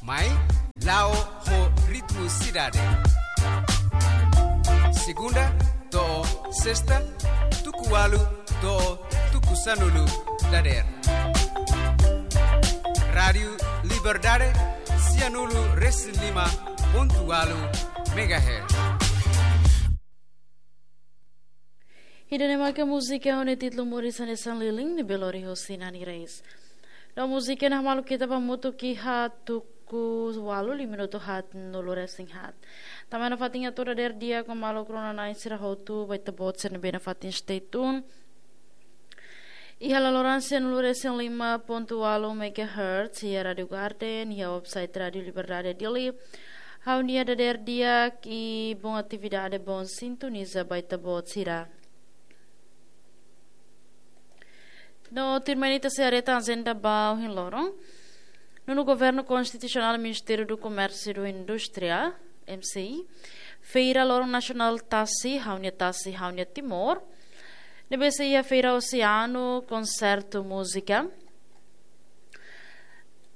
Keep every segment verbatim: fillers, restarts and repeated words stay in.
Mai, la'o ho ritmu sidade. Segunda to'o sesta, tuku ualu to'o tuku sanulu dadeer. Rádiu Liberdade, sianulu resin lima pontu ualu megahertz. Ida-ne'e maka múzika ho nia títulu Moris hanesan lilin, ne'ebé lori hosi Nani Reis. No múzika ne'e hamaluk ita ba hamutuk iha tuku ualu liu minutu haatnulu resin haat. Tanba ne'e nafatin hato'o dadeer di'ak ho maluk rona-na'in sira hotu, ba ita-boot sira ne'ebé nafatin stay tune iha laloran sianulu resin lima pontu ualu megahertz, iha Rádiu Garden, iha website Rádiu Liberdade Dili. Ha'u-nia dadeer di'ak i bom atividade, bom sintoniza ba ita-boot sira. No tuirmai ne'e ita sei haree tan ajenda ba ohin loron. Nonu Governu Konstitusionál Ministériu do Komérsiu no Indústria, M C I, feira loron nasionál Tasi, Ha'u-nia Tasi, Ha'u-nia Timor. Ne'ebé sei iha feira Oseanu, konsertu múzika.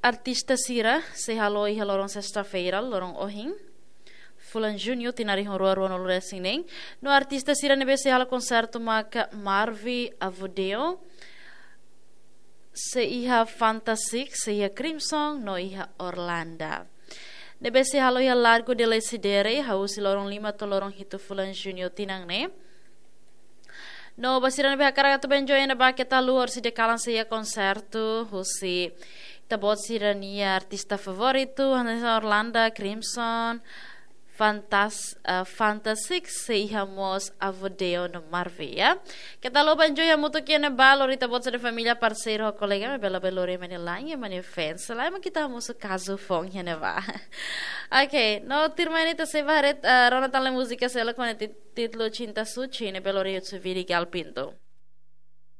Artista sira sei halo iha loron sesta-feira, loron ohin, fulan Juñu, tinan rihun rua ruanulu resin neen. No artista sira ne'ebé sei halo konsertu maka Marvi Avodeo, sei iha Fantastic, sei iha Crimson, no iha Orlanda. Ne'ebé sei halo iha Largo de Lecidere, hahú husi loron lima to'o loron hitu fulan Juñu tinan ne'e. No ba sira ne'ebé hakarak atu bá enjoy iha ne'ebá, keta haluha, horisehik kalan sei iha konsertu husi ita-boot sira-nia artista favoritu, hanesan Orlanda, Crimson, Fantas, eh, Fantastic, sei iha mós Avodeo no Marvi, ya. Keta haluha bá enjoy hamutuk iha ne'ebá, lori ita-boot sira-nia família, parseiru ho kolega, maibé labele lori ema nia la'en, ema nia fans, lae, mak ita hamosu kazu foun iha ne'ebá. Ok, no tuirmai ne'e ita sei bá haree, eh, rona tan lai múzika seluk ho nia ti-, títulu Cinta Suci, ne'ebé lori Yutsuviri Gal Pinto.